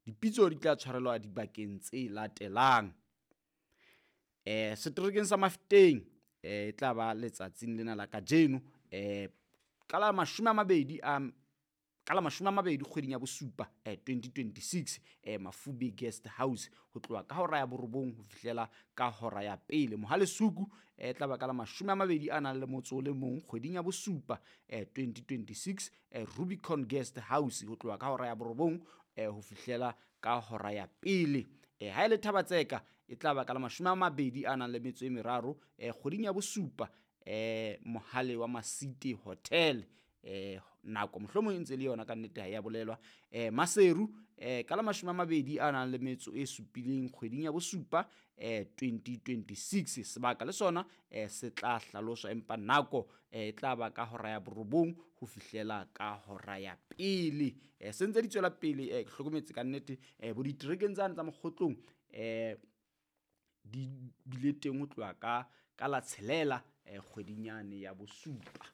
Dipitso di tla tshwarelwa dibakeng tse latelang. Seterekeng sa Mafeteng e tla ba letsatsing lena la kajeno ka la 20 a ka la 20 kgweding ya bosupa 2026, Mafube Guest House, ho tloha ka hora ya 9 ho fihlela ka hora ya 1. Mohale'Shoek e tla ba ka la 21 kgweding ya bosupa 2026, Rubicon Guest House, ho tloha ka hora ya 9 ho fihlela ka hora ya 1. Ha e le Thaba-Tseka e tla ba ka la 23 kgweding ya bosupa, Mohale wa Masite Hotel, nako mohlomong e ntse le yona ka nnete ha ya bolelwa. Maseru ka la 27 kgweding ya bosupa 2026, sebaka le sona se tla hlaloswa, empa nako e tla ba ka hora ya 9 ho fihlela ka hora ya 1. Se ntse di tswela pele, ke hlokometse ka nnete bo diterekeng tsane tsa Mokgotlong di bile teng ho tloha ka la 6 kgweding yane ya bosupa.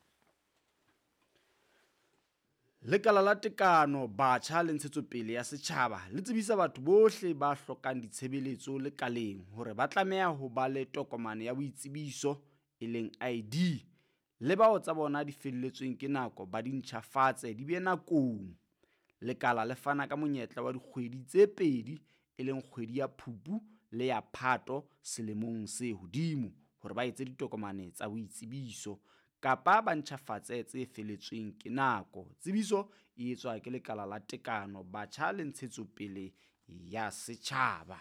Lekala la Tekano, Batjha le Ntshetsopele ya Setjhaba le tsebisa batho bohle ba hlokang ditshebeletso lekaleng hore ba tlameha ho ba le tokomane ya boitsebiso, e leng ID, le bao tsa bona di felletsweng ke nako ba di ntjhafatse di be nakong. Lekala le fana ka monyetla wa dikgwedi tse pedi, e leng kgwedi ya Phupu le ya Phato selemong se hodimo, hore ba etse ditokomane tsa boitsebiso kapa ba ntjhafatse tse feletsweng ke nako. Tsebiso e etswa ke Lekala la Tekano, Batjha le Ntshetsopele ya Setjhaba.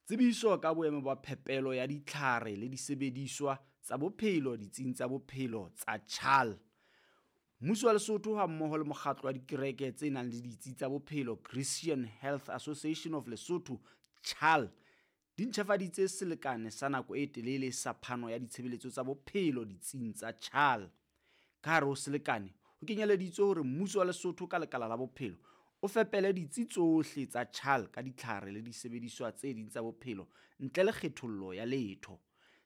Tsebiso ka boemo ba phepelo ya ditlhare le disebediswa tsa bophelo ditsing tsa bophelo tsa CHAL. Mmuso wa Lesotho hammoho le mokgatlo wa dikereke tse nang le ditsi tsa bophelo Christian Health Association of Lesotho, CHAL, di ntjhafaditse selekane sa nako e telele sa phano ya ditshebeletso tsa bophelo ditsing tsa CHAL. Ka hare ho selekane ho kenyeleditswe hore mmuso wa Lesotho ka lekala la bophelo o fepele ditsi tsohle tsa CHAL ka ditlhare le disebediswa tse ding tsa bophelo ntle le kgethollo ya letho.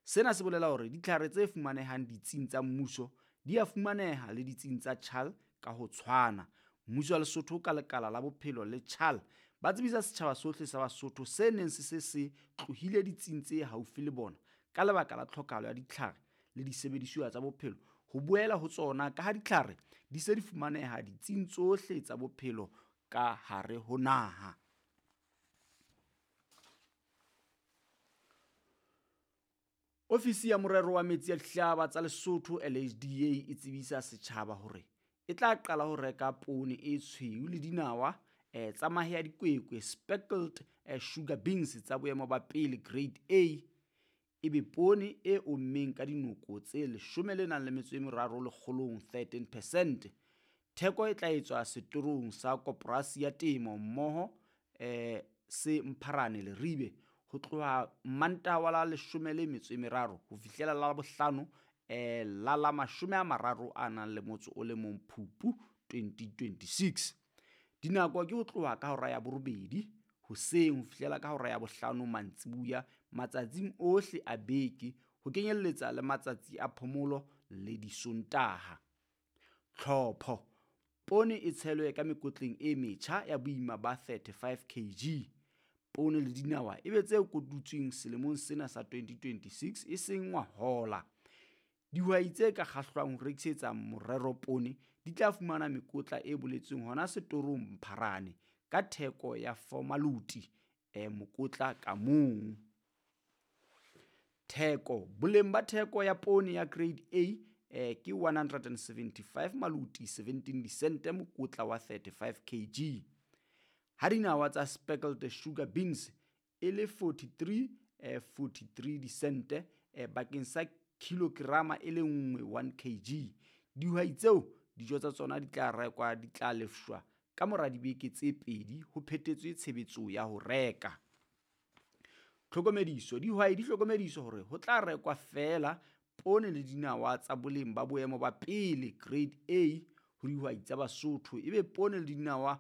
Sena se bolela hore ditlhare tse fumanehang ditsing tsa mmuso di a fumaneha le ditsing tsa CHAL ka ho tshwana. Mmuso wa Lesotho ka lekala la bophelo le CHAL ba tsebisa setjhaba sohle sa Basotho se neng se se se tlohile ditsing tse haufi le bona ka lebaka la tlhokahalo ya ditlhare le disebedisuwa tsa bophelo ho boela ho tsona ka ha ditlhare di se di fumaneha ditsing tsohle tsa bophelo ka hare ho naha. Ofisi ya Morero wa Metsi a Dihlaba tsa Lesotho LHDA e tsebisa setjhaba hore e tla qala ho reka poone e tshweu le dinawa tsa mahe a dikwekwe speckled sugar beans tsa boemo ba pele grade A, ebe poone e ommeng ka dinoko tse 13 lekgolong 13 percent. Theko e tla etswa setorong sa Koporasi ya Temo mmoho se Mpharane Leribe ho tloha Mmantaha wa la 13 ho fihlela la Labohlano la la 31 Phupu 2026. Dinako ke ho tloha ka hora ya 8 hoseng ho fihlela ka hora ya 5 mantsiboya matsatsing ohle a beke ho kenyelletsa le matsatsi a phomolo le Disontaha. Tlhopho. Poone e tshelwe ka mekotleng e metjha ya boima ba 35 kg. Poone le dinawa e be tse kotutsweng selemong sena sa 2026, e seng ngwahola. Dihwai tse ka kgahlwang ho rekisetsa morero poone di tla fumana mekotla e boletsweng hona setorong Mpharane ka theko ya 4 maloti mokotla ka mong. Theko. Boleng ba theko ya poone ya Grade A ke 175 maloti 17 disente mokotla wa 35 kg. Ha dinawa tsa speckled sugar beans e le 43 43 disente bakeng sa kilograma e le nngwe 1 kg. Dihwai tseo dijo tsa tsona di tla rekwa di tla lefshwa ka mora dibeke tse pedi ho phethetswe tshebetso ya ho reka. Tlhokomediso. Dihwai di hlokomediswa hore ho tla rekwa feela poone le dinawa tsa boleng ba boemo ba pele grade A ho dihwai tsa Basotho, ebe poone le dinawa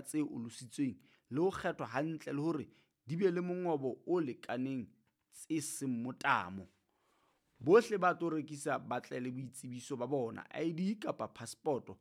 tse olositsweng le ho kgethwa hantle le hore di be le mongobo o lekaneng tse seng motamo. Bohle ba tlo rekisa ba tle le boitsebiso ba bona, ID kapa phasepoto.